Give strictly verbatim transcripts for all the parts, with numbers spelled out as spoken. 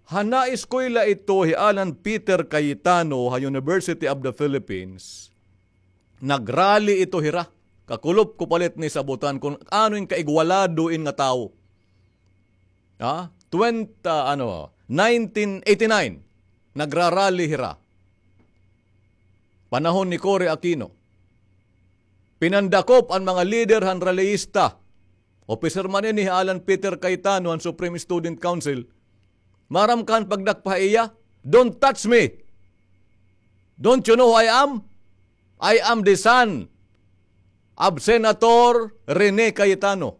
Han naeskwela ito hi Alan Peter Cayetano ha University of the Philippines. Nagrally ito hira. Kakulop ko palit ni sabutan kon ano in kaigwalado in nga tawo. Ha? Twenty, ano, nineteen eighty-nine, nagrarally hira. Panahon ni Cory Aquino. Pinandakop an mga lider han rallyista. Opiser man ini hi Alan Peter Cayetano han Supreme Student Council. Maaram ka han pagdakop ha iya? "Don't touch me. Don't you know who I am? I am the son of Senator Rene Cayetano."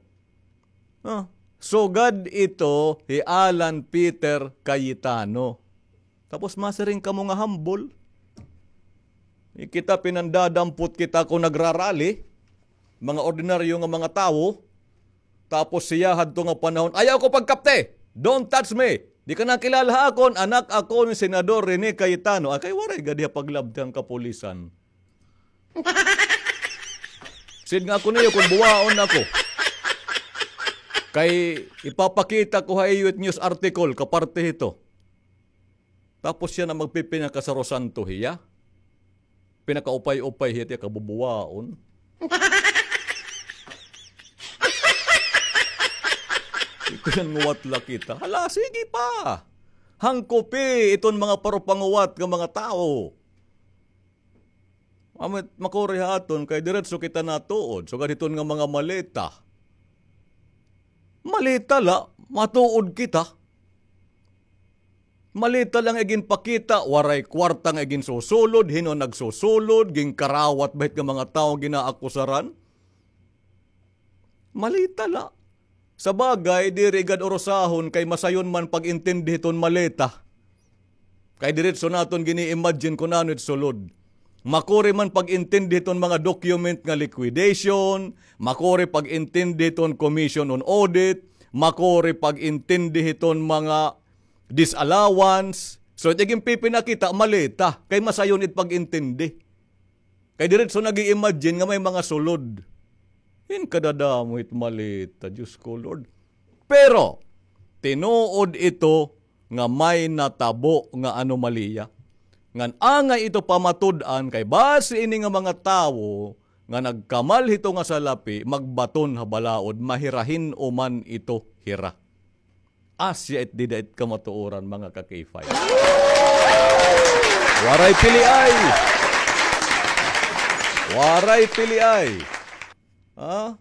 Ah, sugad ito hi Alan Peter Cayetano. Tapos masiring kamo nga humble. Eh, kita pinandadampot kita kon nagrarally, mga ordinaryo nga mga tawo. Tapos siya hadto nga panahon, "Ayaw ko pagkapti! Don't touch me! Di ka nakilala ha akon, anak ako ni Senador Rene Cayetano." Ah, kay waray gad hiya paglabti han kapulisan. Sid nga ako niyo kon buwaon ako. Kay ipapakita ko ha iyo it news article, kaparte hito. Tapos siya na magpipinakasarosanto hiya. Pinakaupay-upay hiya, tiya kabubuwaon. Ito yan, nguwat la kita. Hala, sige pa. Hangkopi iton mga parupanguwat nga mga tawo. Amit makuri ha aton kay diretso kita natuod. Sugad hiton nga mga maleta. Maleta la, matuod kita. Maleta la nga iginpakita, waray kwarta nga iginsusulod, hin-o nagsusulod, ginkarawat ba hit nga mga tawo ginaakusaran. Maleta la. Sa bagay, diri gad urusahon kay masayon man pag-intindi hiton maleta. Kay diretso naton gini-imagine kon ano it sulod. Makuri man pag-intindi hiton mga document nga liquidation, makuri pag-intindi hiton commission on audit, makuri pag-intindi hiton mga disallowance. So, it iginpipinakita, maleta, kay masayon it pag-intindi. Kay diretso nag-i-imagine nga may mga sulod. Hin kadadamo it maleta, Diyos ko, Lord. Pero, tinuod ito nga may natabo nga anomalya. Ngan angay ito pamatud-an kay basi ini nga mga tawo nga nagkamal hito nga salapi, magbaton ha balaod, mahirahin-o man ito hira. Asya it dida it kamatuoran, mga ka-K five. Waray piliay! Waray piliay! Ha?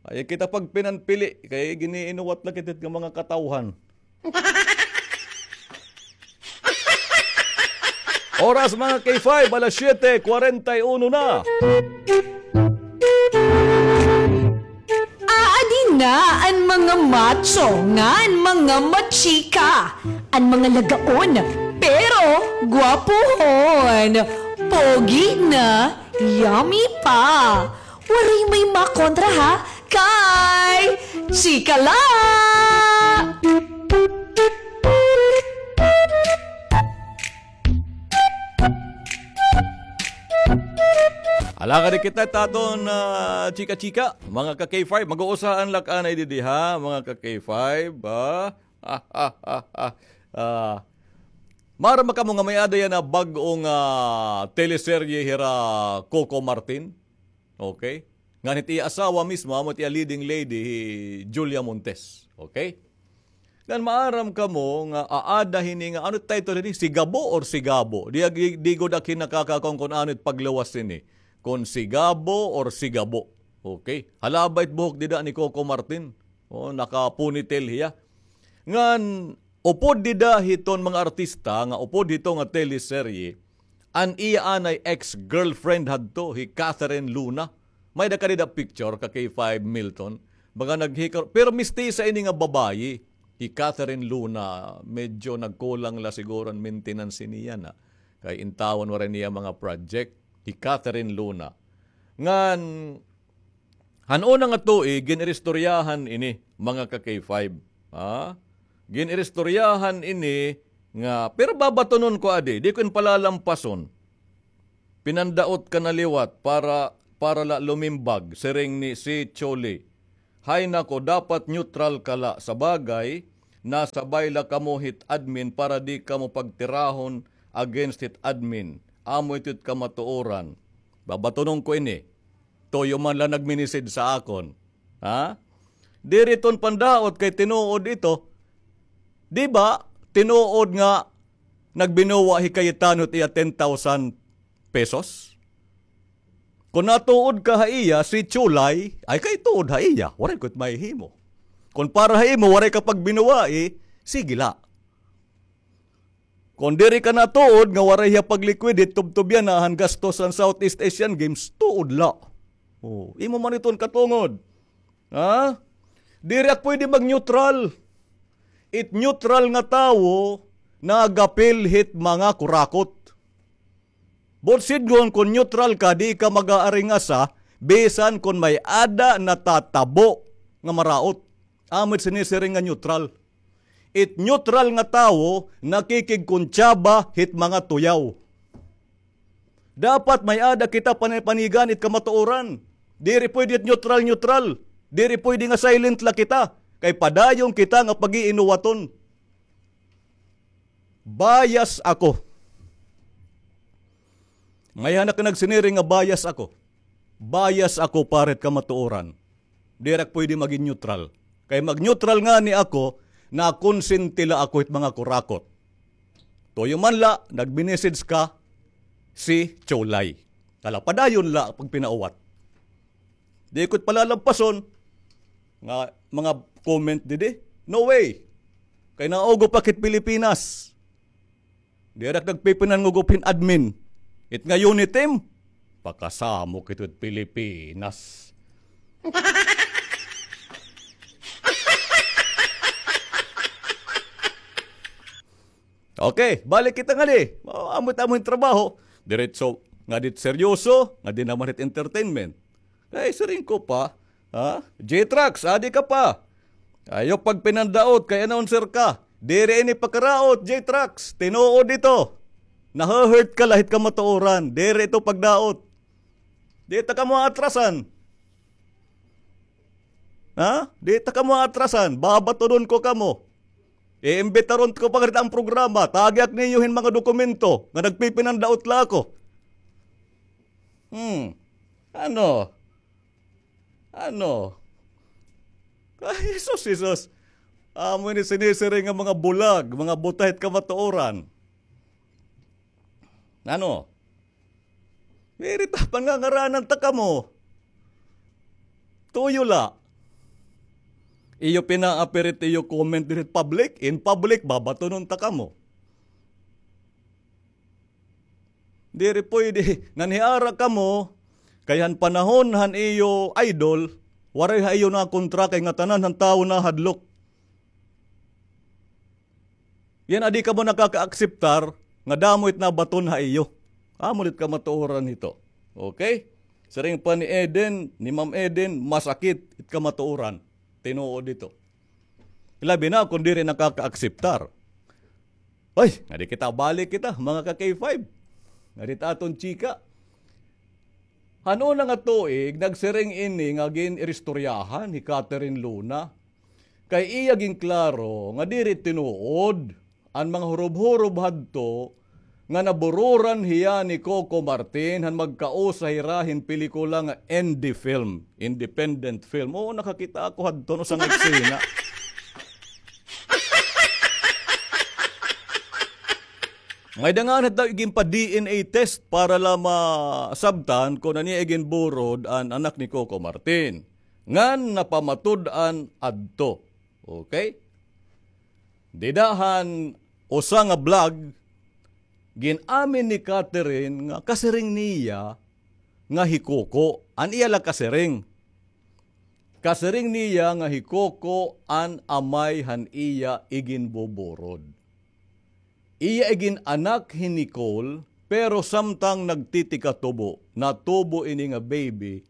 Ay kita pagpinanpili, kay giniinuwat la kita nga mga katawhan. Oras, mga K five, alas siyete kwarenta y uno na. Aadi na an mga macho ngan mga machika, an mga lagaon, pero gwapohon, pogi na, yummy pa. Waray may makontra, ha? Kay chika la! Ala, kadi kita it aton, ah, chika-chika, mga ka-K five. Mag-uusahan la ak anay didi, ha, mga ka-K five, ha? Ah, maaram ba kamo nga may-ada yana bag-o nga, ah, teleserye hira Coco Martin? Okay? Ngan it iya asawa mismo, amo it iya leading lady, hi Julia Montes. Okay? Ngan maaram kamo nga aada hini nga, ano title hini? Sigabo or Sigabo? Di, di, di gud ak hin nakakakuan kon ano it pagluwas hini. Kon Sigabo or Sigabo. Okay? Halaba it buhok dida ni Coco Martin. O, naka-ponytail hiya. Ngan, upod dida hiton mga artista nga upod hito nga teleserye, an iya anay ex-girlfriend hadto, hi Catherine Luna. May-ada ka dida picture, ka K five Milton. Baga naghikar-, pero mistisa ini nga babayi. Hi Catherine Luna, medyo nagkulang la siguro an maintenance niya na. Kay intawon waray niya mga project. Hi Catherine Luna. Ngan, han una nga tuig, gin-iristoryahan ini, mga ka-K five. Ha? Gin-iristoryahan ini nga, pero babatonon ko adi, di ko in palalampason. Pinandaot ka na liwat para, para la lumimbag, siring ni si Choli. Hay nako, dapat neutral ka la. Sa bagay, nasabay la kamo hit admin para di kamo pagtirahon against hit admin. Amo ito it kamatuoran. Babatunon ko ini. Tuyo man la nagminisid sa akon. Ha? Diri iton pandaot kay tinuod ito. Di ba? Tinuod nga nagbinuwa hi Cayetano it iya ten thousand pesos? Kon natuod ka ha iya, si Chulay, ay kay tuod ha iya. Waray ko it mahihimo. Kon para ha imo, waray ka pagbinuwai, sige la. Kon diri ka natuod nga waray hiya pag-liquidate, tubtob yana han gastos han Southeast Asian Games, tuod la. Oh, imo man iton katungod. Ha? Diri ak pwede mag-neutral. It neutral nga tawo nagapil hit mga kurakot. But sidngon kon neutral ka, di ka mag-aaringasa, bisan kon may-ada natatabo nga maraot. Amo it sinisiring nga neutral. It neutral nga tawo nakikigkontsaba hit mga tuyaw. Dapat may-ada kita panipanigan it kamatuoran. Diri pwede it neutral-neutral. Diri pwede nga silent la kita. Kay padayon kita nga pag-iinuwaton. Bias ako. May hanak nga nagsiniring nga bias ako. Bias ako para hit kamatuoran. Diri ak pwede magin neutral. Kay mag-neutral ngani ako, nakonsente la ako hit mga kurakot. Tuyo man la, nag-message ka, si Cholay. Hala, padayon la pagpinauwat. Di ko it palalampason nga mga comment didi. No way. Kay naugo pa kit Pilipinas. Diri ak nagpipinangugup hin admin. It nga Uniteam, pakasamok ito it Pilipinas. Okay, balik kita ngadi. Amo it amo hin trabaho. Diretso ngadi it seryoso, ngadi naman it entertainment. Kay siring ko pa, ha? J-Trax, adi ka pa. Ayaw pagpinandaot kay announcer ka. Diri ini pakaraot, J-Trax. Tinuod ito. Nahe-hurt ka la hit kamatuoran. Diri ito pagdaot. Di ta kamo aatrasan. Ha? Di ta kamo aatrasan. Babatunon ko kamo. Iimbitaron ko pa ngadi it programa. Tagi ak niyo hin mga dokumento nga nagpipinandaot la ako. Hmm. Ano? Ano? Ay, Jesus, Jesus. Amo ini sinisiring nga mga bulag, mga buta hit kamatuoran. Ano? Diri ta pangangaranan ta kamo. Tuyo la. Iyo pina-appear it iyo comment diri hit public, in public, babatunon ta kamo. Diri pwede. Nanhiara kamo, kay han panahon han iyo idol, waray ha iyo nakontra kay ngatanan han tawo nahadlok. Yana adi kamo nakakaakseptar nga damo it nabaton ha iyo. Amo it kamatuoran hito. Okay? Siring pa ni Eden, ni Ma'am Eden, masakit it kamatuoran. Tinuod ito. Labi na kon diri nakakaakseptar. Ay, ngadi kita, balik kita, mga ka-K five. Ngadi ta aton chika. Han una nga tuig, nagsiring ini nga gin-iristoryahan hi Catherine Luna. Kay iya ginklaro nga diri tinuod an mga hurob-hurob hadto nga nabururan hiya ni Coco Martin han magkausa hira hin pelikula nga indie film, independent film. Oo, nakakita ako hadto, no, sa eksena. May-ada ngani daw iginpa-D N A test para la masabtan kon an iya iginburod an anak ni Coco Martin. Ngan napamatud-an adto. Okay? Dida han usa nga vlog, gin-amin ni Catherine nga kasiring niya nga hi Coco an iya la kasiring. Kasiring niya nga hi Coco an amay han iya iginbuburod. Iya igin-anak hi Nicole, pero samtang nagtitikatubo, natubo ini nga baby,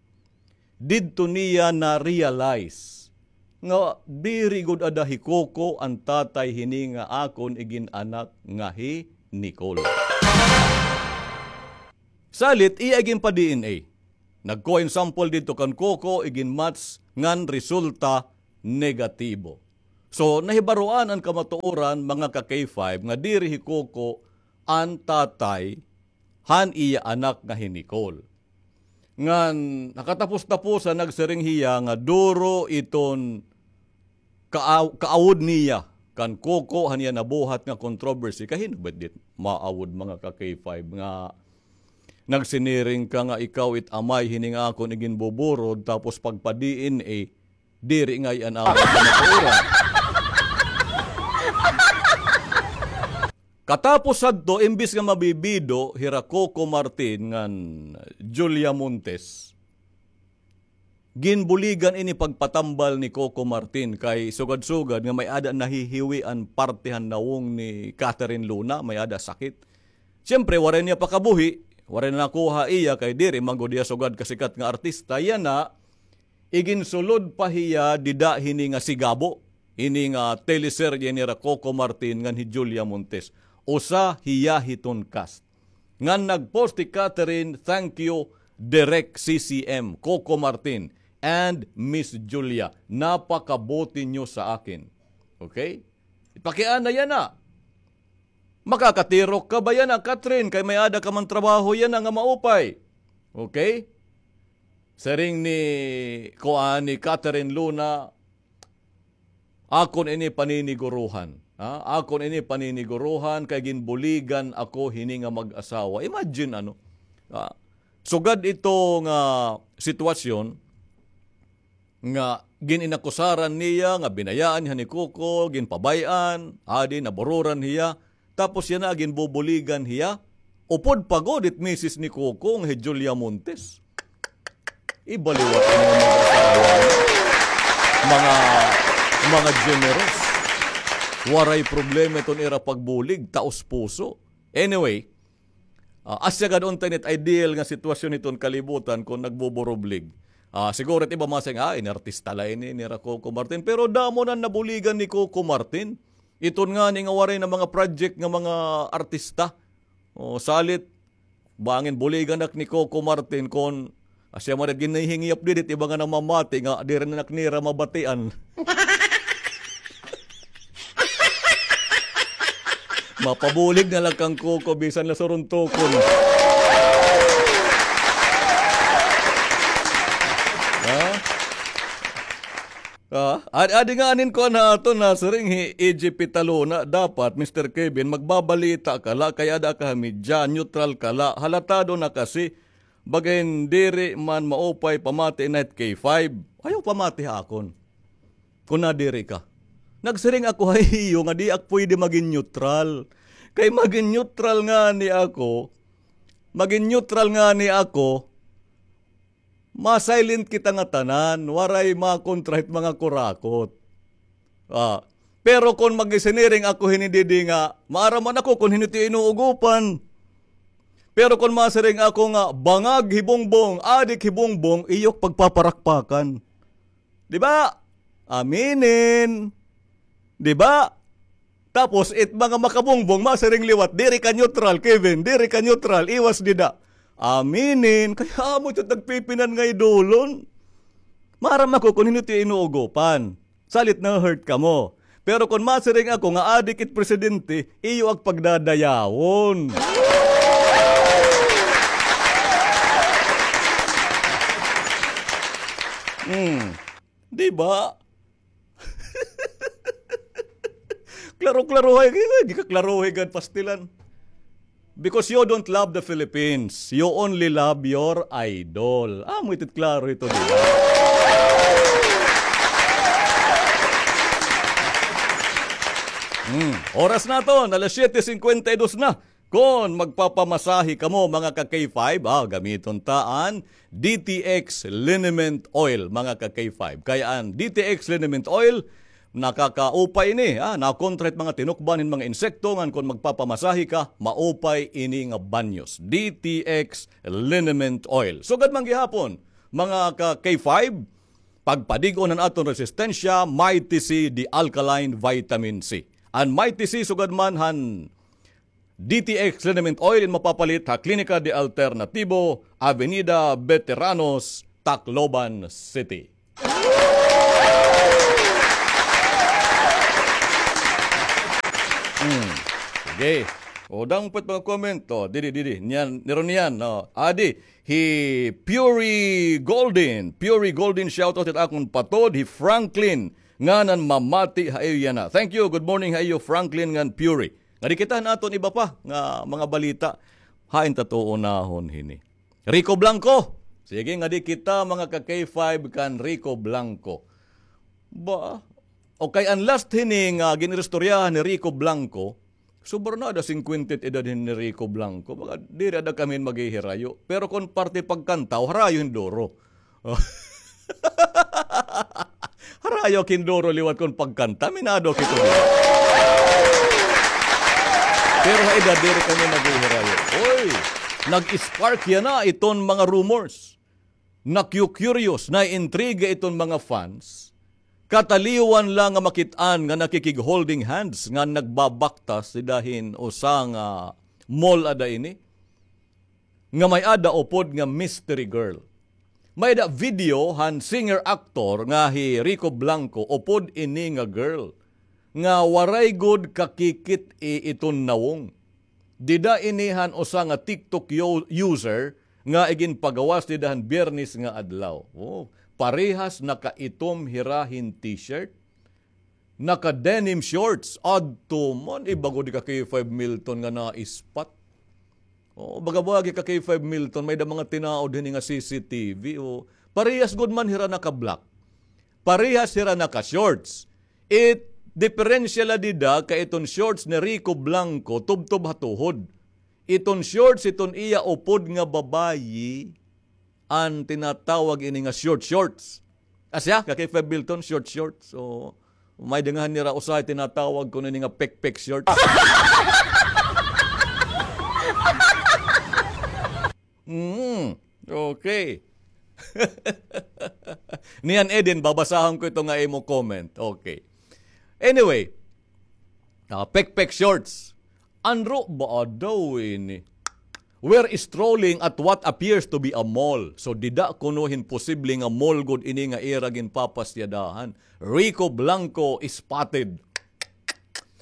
didto niya na-realize nga diri gud ada hi Coco an tatay hini nga akon igin-anak nga hi Nicole. Salit, iya iginpa-D N A. Nagkuha hin sample didto kan Coco, igin-match, ngan resulta negatibo. So, nahibaroan an kamatuoran, mga ka-K five, nga diri hi Coco an tatay han iya anak nga hi Nicole. Ngan, ha katapos-taposan, nagsiring hiya nga duro iton kaaw-, kaawod niya kan Coco han iya nabuhat nga controversy. Kay hin-o ba it di maawod, mga ka-K five, nga nagsiniring ka nga ikaw it amay hini nga akon iginbuburod, tapos pagpa-D N A, diri ngay-an amay nga natuoran. Katapos hadto, imbis nga mabibido hira Coco Martin ngan Julia Montes, ginbuligan ini pagpatambal ni Coco Martin kay sugad-sugad nga may-ada nahihiwi an parte han nawong ni Catherine Luna, may-ada sakit. Siyempre, waray niya pakabuhi, waray na nakuha iya kay diri man gud hiya sugad kasikat nga artista. Yana, iginsulod pa hiya dida hini nga sigabo, ini nga teleserye nira Coco Martin ngan hi Julia Montes. Usa hiya hiton cast. Ngan nag-post hi Catherine, "Thank you, Direk C C M, Coco Martin, and Miss Julia. Napakabuti niyo sa akin." Okay? Ipakiana yana. Makakatirok ka ba yana, Catherine? Kay may-ada ka man trabaho yana nga maupay. Okay? Siring ni, kuan, ni Catherine Luna, "Akon ini paniniguruhan. Ha? Akon ini paniniguruhan kay ginbuligan ako hini nga mag-asawa." Imagine, ano? Ah, sugad ito nga sitwasyon nga gin-inakusaran niya nga binayaan hiya ni Coco, ginpabay-an, adi, nabururan hiya, tapos yana ginbubuligan hiya, upod pa gud it misis ni Coco nga hi Julia Montes. Iba liwat ini nga mag-asawa, mga, mga generous. Waray problema iton ira pagbulig, taos puso. Anyway, ah, asya gad unta ini it ideal nga sitwasyon hiton kalibutan kon nagbuburublig. Ah, siguro it iba masiring, "Ah, inartista la ini nira Coco Martin." Pero damo na nabuligan ni Coco Martin. Iton ngani nga waray na mga project nga mga artista. O, salit, bangin buligan ak ni Coco Martin kon asya man it ginhihingyap didi it iba nga namamati nga diri na ak nira mabatian. Mapabulig na la kan Coco, bisan la suruntokon. Ha? Ah, ad-, adi nga anin ko na ato na siring hi E J Pitalona, dapat, Mister Kevin, magbabalita ka la, kay ada ka ha media, neutral ka la. Halatado na kasi, baga hin diri man maupay pamati na it K five. Ayaw pamati ha akon. Kon nadiri ka. Nagsiring ako ha iyo nga di ak pwede magin neutral. Kay magin neutral ngani ako, magin neutral ngani ako, ma-silent kita ngatanan, waray makontra hit mga kurakot. Ah, pero kon magsiniring ako hini didi nga, maaram man ako kon hin-o it iyo inuugopan. Pero kon masiring ako nga, bangag hi Bongbong, adik hi Bongbong, iyo ak pagpaparakpakan. Di ba? Aminin. Di ba? Tapos, it mga makabongbong, masiring liwat, diri ka neutral, Kevin, diri ka neutral, iwas dida. Aminin, kay amo ito nagpipinan nga idolon. Maaram ako kon hin-o it iyo inuugopan. Salit na-hurt kamo. Pero kon masiring ako nga adik it presidente, iyo ak pagdadayawon. Hmm. Di ba? Klaro-klarohay, di ka klarohay gad pastilan. Because you don't love the Philippines. You only love your idol. Amo ito it klaro ito, di ba? Hmm. Oras naton, alas siyete singkwenta y dos na. Kon magpapamasahe kamo, mga ka-K five, ah, gamiton ta an D T X liniment oil, mga ka-K five. Kay an D T X liniment oil, nakakaupay ini, ah, nakontra it mga tinukban hin mga insekto, ngan kon magpapamasahe ka, maupay ini nga banyos. D T X liniment oil. Sugad man gihapon, mga ka-K five, pagpadig-on han aton resistensya, Mighty C, the alkaline vitamin C. An Mighty C, sugad man han D T X liniment oil in mapapalit ha Klinika de Alternatibo, Avenida Veteranos, Tacloban City. Hmm. Sige. O, damo pa it mga comment. O, didi, didi. Niyan, niro niyan. O, adi, hi Puri Golden. Puri Golden, shoutout it akon patod. Hi Franklin, ngan mamati ha iyo yana. Thank you. Good morning ha iyo, Franklin ngan Puri. Ngadi kita han aton iba pa nga mga balita. Hain ta tuunahon hini. Rico Blanco. Sige, ngadi kita, mga ka-K five, kan Rico Blanco. Ba? Okay, an last hini nga gin-iristoryahan ni Rico Blanco, sobra na ada singkwenta it edad hini ni Rico Blanco. Baga, diri ada kami maghihirayo. Pero kon parte pagkanta, o harayo hin duro. Harayo ak hin duro liwat kon pagkanta, minado ak hito. Pero ha edad, diri kami naghihirayo. Oy, nag-spark yana iton mga rumors. Nakiu-curious, naiintriga iton mga fans. Kataliwan la nga makit-an nga nakikig-holding hands nga nagbabaktas dida hin usa nga mall ada ini. Nga may-ada upod nga mystery girl. May-ada video han singer-actor nga hi Rico Blanco upod ini nga girl nga waray gud kakikit-i iton nawong. Dida ini han usa nga TikTok yo-, user nga iginpagawas dida han Biyernes nga adlaw. Oh, parehas nakaitom hira hin t-shirt. Naka-denim shorts. Adto man, iba gud ka-K five Milton nga naispat. O, baga-baga ka-K five Milton, may-ada mga tinaod hini nga C C T V, o. Parehas gud man hira naka-black. Parehas hira naka-shorts. It, diperensya la dida kay iton shorts ni Rico Blanco, tubtob ha tuhod. Iton shorts, iton iya upod nga babayi, an tinatawag ini nga short shorts. Asya, ka-K five Milton, short shorts. So, may dangahan nira usahay tinatawag kuno ini nga pekpek shorts. Mm, okay. Niyan, Eden, babasahon ko ito nga imo comment. Okay. Anyway, ah, pekpek shorts. Anro ba daw ini? We're strolling at what appears to be a mall. So, dida kuno hin posible nga mall gud ini nga ira ginpapasyadahan. Rico Blanco spotted.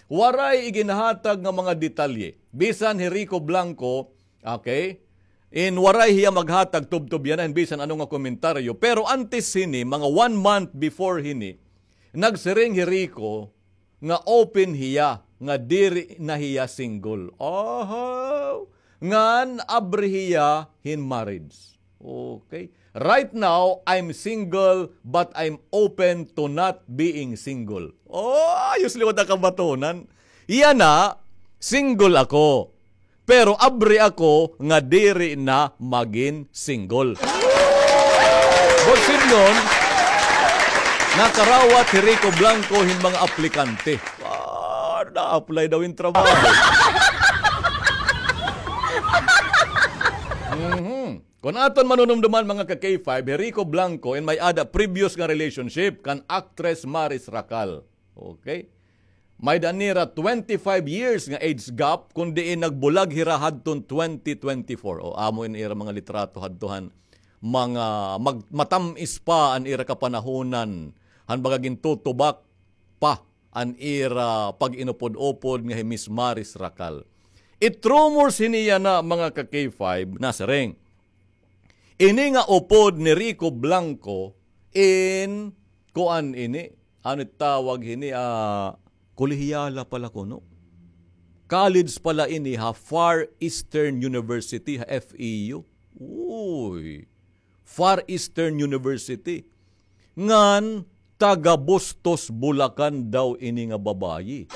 Waray iginhatag nga mga detalye. Bisan hi Rico Blanco, okay? In waray hiya maghatag tubtob yana hin bisan ano nga komentaryo. Pero antes hini, mga one month before hini, nagsiring hi Rico nga open hiya, nga diri na hiya single. Oho! Ngan abri hiya hin marriage. Okay. Right now, I'm single, but I'm open to not being single. Oh, ayos liwat an kabatonan. Yana, single ako. Pero abri ako nga diri na magin single. Buot sidngon, nakarawat hi Rico Blanco hin mga aplikante. Ah, na-apply daw hin trabaho. Mhm. Kon aton manunumdoman, mga ka-K five, hi Rico Blanco in may-ada previous nga relationship kan actress Maris Racal. Okay? May-ada nira twenty-five years nga age gap, kun diin nagbulag hira hadton twenty twenty-four. O, amo in ira mga litrato hadto han mga mag-, matam-is pa an ira kapanahonan, han baga gintutubak pa an ira pag-inupod-upod nga hi Miss Maris Racal. It rumors hini yana, mga ka-K five, nasiring. Ini nga upod ni Rico Blanco in, kuan ini, ano tawag hini, ah, kolehiyala pala kuno. College pala ini ha Far Eastern University, ha F E U. Uy, Far Eastern University. Ngan taga Bustos, Bulacan daw ini nga babayi.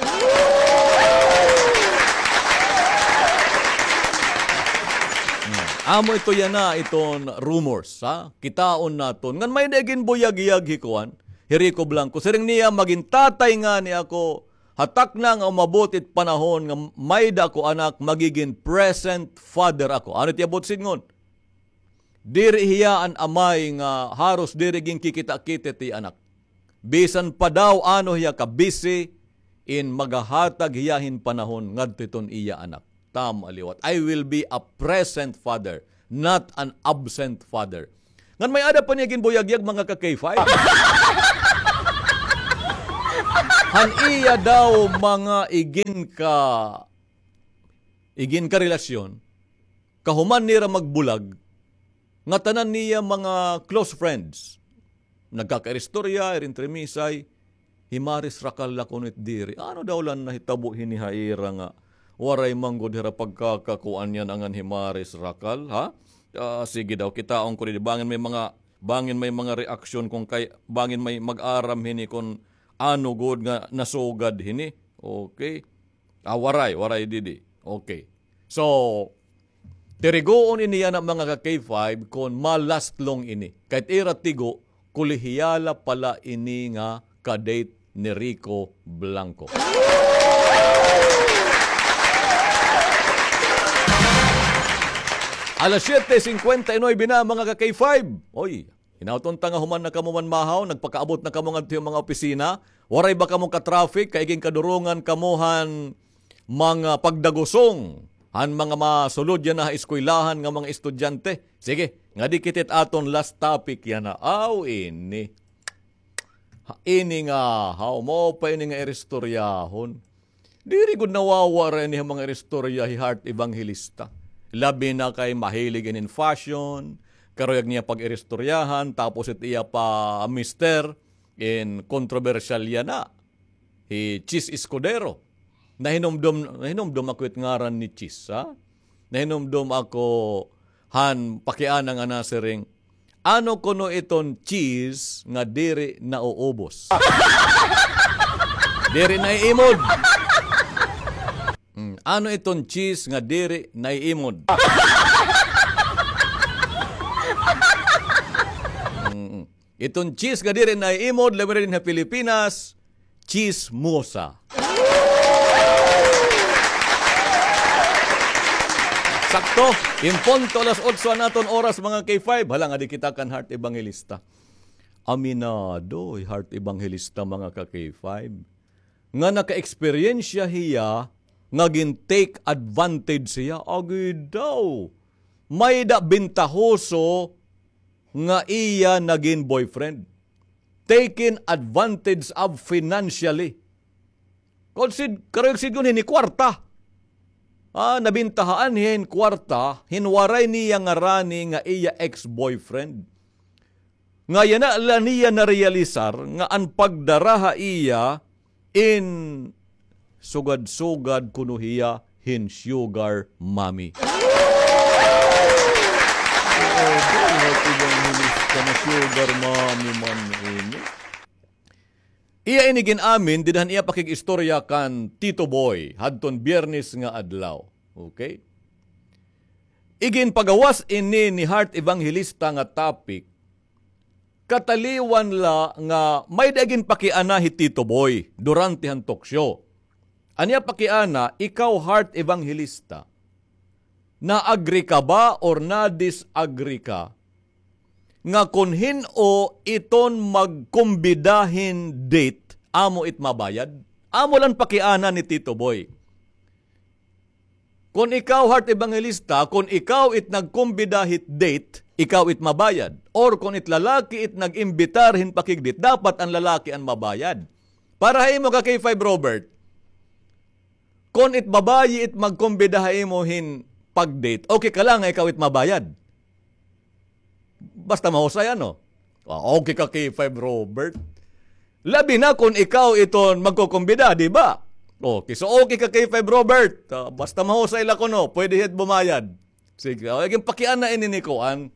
Hmm. Amo ito yana, iton rumors, ha? Kitaon naton. Ngan may-ada ginbuyagyag hi kuan, hi Rico Blanco. Siring niya, magin tatay ngani ako, ha takna nga umabot it panahon nga may-ada ako anak, magigin present father ako. Ano it iya buot sidngon? Diri hiya an amay nga haros diri ginkikita-kita it iya anak. Bisan pa daw ano hiya ka-busy, in maghahatag hiya hin panahon ngadto hiton iya anak. Tama liwat. I will be a present father, not an absent father. Ngan may-ada pa niya ginbuyagyag, mga ka-K five. Han iya daw mga iginka, iginkarelasyon, kahuman nira magbulag, ngatanan niya mga close friends. Nagkakairistorya, irin trimisay, hi Maris Racal la kuno it diri. Ano daw la an nahitabo hini ha ira nga waray man gud hira pagkakakuan yana ngan hi Maris Racal, ha? Ah, sige daw, kitaon ko didi. Bangin may mga, bangin may mga reaksyon kon kay, bangin may mag-aram hini kon ano gud nga nasugad hini. Okay. Ah, waray, waray didi. Okay. So, tirigoon ini yana, mga ka-K five, kon ma-last long ini. Kay it ira tigo, kolehiyala pala ini nga ka-date ni Rico Blanco. Alas siyete singkwenta y nuwebe na, mga ka-K five. Oy, hinaut unta nga human na kamo manmahaw, nagpakaabot na kamo ngadto ha mga opisina. Waray ba kamo ka-traffic, kay iginkadurongan kamo han mga pagdagusong han mga masulod yana ha eskwelahan nga mga estudyante? Sige, ngadi kita hit aton last topic yana. Aw, ini. Ha, ini nga, haw, mao pa ini nga iristoryahon. Diri gud nawawara ini ha mga iristorya hi Heart Evangelista. Labi na kay mahilig inin fashion, karuyag niya pag-iristoryahan, tapos it iya pa mister, in kontrobersyal yana, hi Chiz Escudero. Nahinumdom, nahinumdom ako it ngaran ni Chiz, ha? Nahinumdom ako han pakiana nga nasiring, "Ano kuno iton cheese nga diri nauubos?" Diri naiimod. Mm, ano iton cheese nga diri naiimod? Mm. Iton cheese nga diri naiimod, labi na dinhi ha Pilipinas, chismosa. Sakto, in punto alas otso an aton oras, mga K five. Hala, ngadi kita kan Heart Evangelista. Aminado hi Heart Evangelista, mga ka-K five, nga naka-eksperyensya hiya nga gin-take advantage hiya. Agi daw, may-ada bintahoso nga iya nagin boyfriend. Taken advantage of financially. Kon sid-, karuyag sidngon hini kwarta. Ah, nabintahaan hiya hin kwarta, hin waray niya ngarani nga iya ex-boyfriend. Nga yana la niya narealisar nga an pagdara ha iya in sugad-sugad kuno hiya hin sugar mommy. Oo, diri na evangelista na sugar mommy man ini. Iya ini gin-amin dida han iya pakig-istorya kan Tito Boy hadton Biyernes nga adlaw. Okay? Iginpagawas ini ni Heart Evangelista nga topic, kataliwan la nga may-ada ginpakiana hi Tito Boy durante han talk show. An iya pakiana, ikaw Heart Evangelista, na-agree ka ba or na-disagree ka nga kon hin-o iton magkumbida hin date, amo it mabayad? Amo la an pakiana ni Tito Boy. Kon ikaw, Heart Evangelista, kon ikaw it nagkumbida hit date, ikaw it mabayad. Or kon it lalaki it nag-imbitar hin pakig-date, dapat an lalaki an mabayad. Para ha imo ka K five Robert, kon it babayi it magkumbida ha imo hin pag-date, okay ka la nga ikaw it mabayad? Basta mahusay, ano? Ah, okay ka, K five Robert. Labi na kon ikaw iton magkukumbida, di ba? Okay, so okay ka, K five Robert. Ah, basta mahusay la kuno, pwede hiya it bumayad. Sige, ah, ginpakiana ini ni kuan,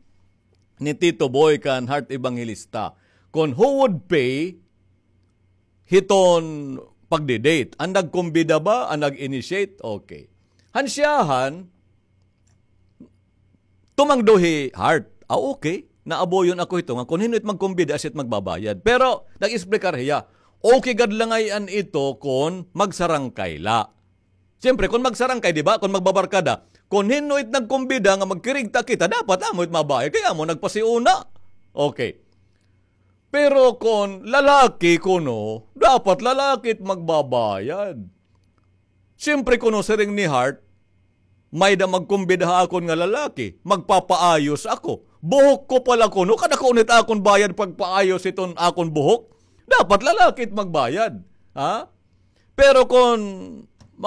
ni Tito Boy kan Heart Evangelista. Kon who would pay hiton pagdi-date? An nagkumbida ba? An nag-initiate? Okay. Han siyahan, tumangdo hi Heart. Ah, okay. Naabuyon ako hito nga kon hin-o it magkumbida, siya it magbabayad. Pero nag-explicar hiya, okay gad la ngay-an ito kon magsarangkay la. Siyempre, kon magsarangkay, di ba? Kon magbabarkada, kon hin-o it nagkumbida nga magkirigta kita, dapat amo it mabayad. Kay amo nagpasiuna. Okay. Pero kon lalaki kuno, dapat lalaki it magbabayad. Siyempre kuno, siring ni Heart, may-ada magkumbida ha akon nga lalaki, magpapaayos ako. Buhok ko pala kuno, kadako na it akon bayad pagpaayos hiton akon buhok. Dapat lalaki it magbayad. Ha? Pero kon